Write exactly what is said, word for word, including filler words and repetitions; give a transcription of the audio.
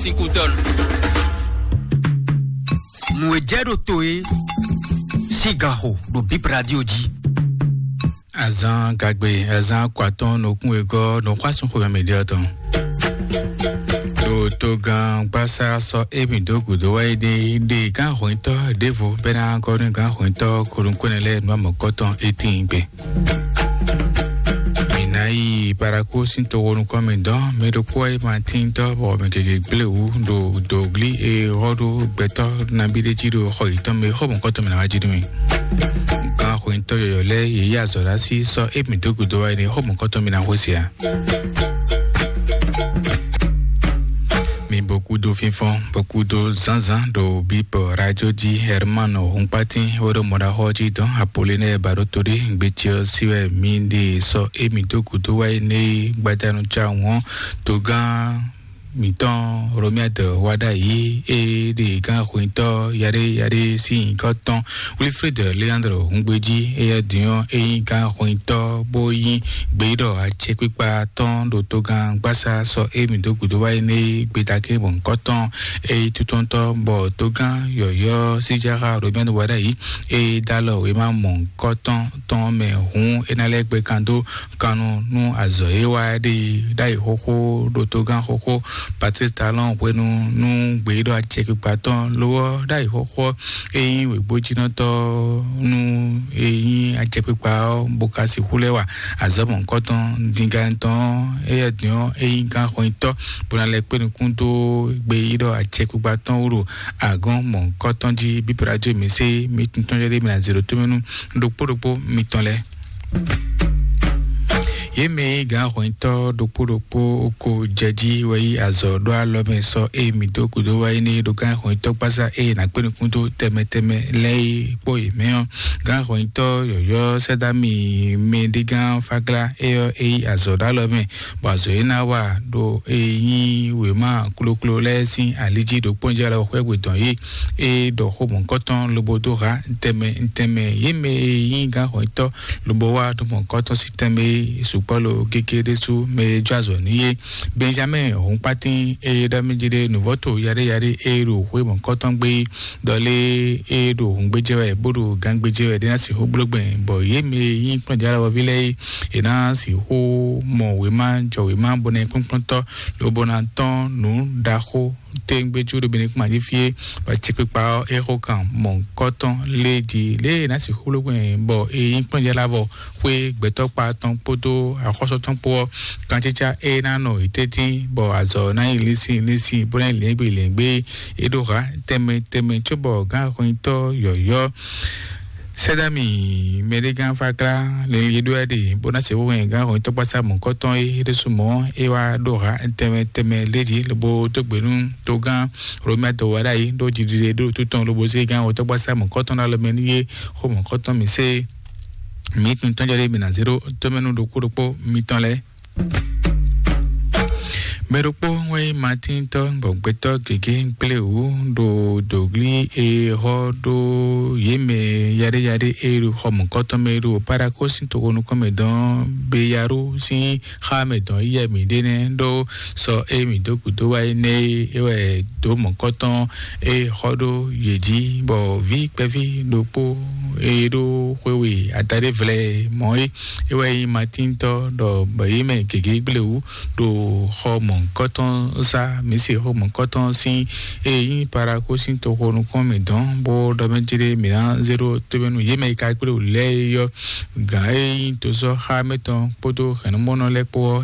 Tikutɔn. Nǔ e jɛ ɖo to e sín ganxo ɖo Bip Radio jí. Azan gagbe, azan kɔ atɔn nukún wegɔ́ nukún asúnxomɛ mǐɖé ɔ́ tɔn. Ɖo togán gbásá sɔ émí dó gǔdo wá yi ɖe ɖe gán hwɛntɔ́ ɖěvo bɛ́ ná gɔ́ nú gán hwɛntɔ́ kónúkónɛ lɛ́ɛ nú amɔ̌kɔ́tɔn étín gbe. Mǐ ná yi Paraku sín toxo nukɔn mǐ dɔn, mɛ ɖokpó wá yi ma tíntɔ́ bɔ mɛ gěgé gblé wǔ ɖo dǒglí e xɔ ɖó gbɛtɔ́ nabí ɖé jí ɖo xɔ yětɔn mɛ, xɔ mɔ̌kɔtɔn mǐ ná wá jí nú mì. Gán xweyǐntɔ́ yɔ̌yɔ́ lɛ́ɛ yě yí azɔ̌ ɖó así sɔ́ émí dó gǔdo wá yi nú xɔ mɔ̌kɔtɔn mǐ ná xwé se ǎ. Mi bokudo fínfɔ́n, bokudo zǎnzǎn ɖo bípɔ rájó jí. Hermano Hunkpatín wɛ ɖo mɔɖaxɔ jí dɔn Apolinɛ́ɛ Baɖótodé gbétiɔ sí wɛ mi ɖe sɔ́ émí dó gǔdo wá yi nɛ gbadanu cáwun ɔ́, togán mǐtɔn Romiade wá ɖ'ayǐ e ɖe gán xweyǐntɔ́ yaɖé yaɖé sín nyǐkɔ tɔn Wilfred Leandro húngbéjí. Éyɛ́ din ɔ́, é nyí gán xweyǐntɔ́ bó nyí gbeyíɖɔ acɛkpikpa tɔn ɖo togán gbásá sɔ émí dó gǔdo wá yi nɛ gbedagé mɔ̌hunkɔtɔn. É nyí tutɔ́ntɔ́ bɔ togán yɔ̌yɔ́ síjáxa Romiade wá ɖ'ayǐ e dó alɔ wěma mɔ̌hunkɔtɔn tɔn mɛ hǔn é ná lɛ́ gbɛkan dó kannu nú azɔ̌ e wá ɖe ɖ'ayǐ xóxó ɖo togán xóxó Patrice Talon hwenu nú gbeyíɖɔ acɛkpikpa tɔn ló ɔ́ ɖ'ayǐ xóxó ɔ́, é nyí wěgbójínɔtɔ́ nú é nyí acɛkpikpa ɔ́ bó ka sixú lɛ́ wa azɔ̌ mɔ̌hunkɔtɔn dingán tɔn ɔ́, éyɛ́ din ɔ́, é nyí gán xweyǐntɔ́ bó ná lɛ́ kpé nukún dó gbeyíɖɔ acɛkpikpa tɔn wú ɖo agɔ̌n mɔ̌hunkɔtɔn jí. Bíblá jó mǐ sé mí tuntun jɛ ɖé mǐ ná zě ɖo tómɛ nú ɖokpó ɖokpó mitɔn lɛ́ɛ. Yě mɛ e nyí gǎn hwɛntɔ́ ɖokpó ɖokpó ko jɛ jí wɛ yí azɔ̌ ɖó alɔ mɛ sɔ́ ée mǐ dó gǔdo wá yi n'i ɖo gǎn hwɛntɔ́ gbásá ée è nǎ kpé nukún dó tɛnmɛ tɛnmɛ lɛ́ɛ é kpó yě mɛ ɔ́. Gǎn hwɛntɔ́ yɔ̌yɔ́ Sɛ́dámi mɛɖégán Fáglá é ɔ́, é yí azɔ̌ ɖó alɔ mɛ, bɔ azɔ̌ e ná wa ɖo e nyí wěma kloklo lɛ́ɛ sín ali jí ɖo kpɔ́njɛ́ alɔ xwɛ́gbe dɔn yí. É ɖɔ xó mɔ̌hunkɔtɔn lobo dó há tɛnmɛ tɛnmɛ yě mɛ e nyí gǎn hwɛntɔ́ lobo wá ɖo mɔ̌hunkɔtɔn sín tɛnmɛ e sukpɔ́ lo gégé ɖésú mɛ e jó azɔ̌ n'i é. Benjamín Hunkpatín e ɖɔ mì jí ɖe nǔvɔ́to yaɖé yaɖé e ɖo xwé mɔ̌hunkɔtɔn gbé é, ɖɔ lé e ɖo hǔngbéjɛ wɛ bó ɖo gangbéjɛ wɛ ɖé ná sixú bló gbɛn, bɔ yě mɛ e nyí kplɔ́njɛ́ alɔví lɛ́ɛ é, è ná sixú mɔ wěma jɔ wěma bɔ ná nyí kplɔ́nkplɔ́ntɔ́ lobo ná tɔ́n nǔ ɖaxó téŋgbéjú ɖo Benɛkúma jí fí é, bɔ acɛkpikpa ɔ́ é xo kan mɔ̌hunkɔtɔn lé jí lě e è nǎ sixú bló gbɛn bɔ è nyí kplɔ́njɛ́ lɛ́ɛ avɔ xwé gbɛtɔ́ kpa tɔn kpódó axɔ́sú tɔn kpó ɔ́, kancícá é ná nɔ yě tɛ́ntin, bɔ azɔ̌ ná yi linsin linsin bó ná yi lǐngbí lǐngbí. É ɖó hǎ tɛnmɛ tɛnmɛ cóbɔ gǎn xweyítɔ́ yɔ̌yɔ́ Sɛ́dámi mɛɖégán Fáklá lili ɖó ɛ ɖe bó ná se wɛn gǎn xweyítɔ́ kpásá mɔ̌kɔ́tɔn é ɖésú mɔ̌ é wá ɖó hǎ tɛnmɛ tɛnmɛ lé jí lobo dó gbe nú togán Romɛ dɔwɛɖa yi ɖó jiɖiɖe ɖó tutɔn lobo zé gán wǒtɔ́gbasá mɔ̌kɔ́tɔn ɖo alɔ mɛ nú yé xó mɔ̌kɔ́tɔn mǐ sé mǐ tun tɔ́njɔ ɖé mǐ ná zé ɖó tómɛnú ɖokpó ɖokpó mitɔn lɛ́ɛ. Mɛ ɖokpó wɛ nyí Matíntɔ́ gbɔgbɛtɔ́ gěgé gblé wǔ ɖo dǒglí e xɔ ɖó yě mɛ yaɖéyaɖé e ɖo xɔ mɔ̌kɔ́tɔn mɛ ɖo Paɖakó sín toxo nukɔn mɛ dɔn Beyarú sín xá mɛ dɔn yíyɛ mǐ ɖe nɛ́ ɖó sɔ e mǐ dó gǔdo wá é nɛ́ é wɛ dǒ mɔ̌kɔ́tɔn e xɔ ɖó yě jí, bɔ vǐ kpɛví ɖokpó e ɖó xwe we adaɖé vlɛ mɔ̌ é, é wɛ nyí Matíntɔ́ ɖɔ bɔ yě mɛ gěgé gblé wú ɖo xɔ mɔ̌kɔ́tɔn sá mǐ se xɔ mɔ̌kɔ́tɔn sín e nyí Paɖakó sín toxo nukɔn mǐ dɔn bó ɖɔ mɛ jí ɖé mǐ ná zé ɖó tómɛnu yě mɛ e ka gblé wú lɛ́ɛ é yɔ gǎn e nyí tosɔ́ xá mɛtɔn kpódó hɛ̌nnumɔnɔ lɛ́ɛ kpó ɔ́,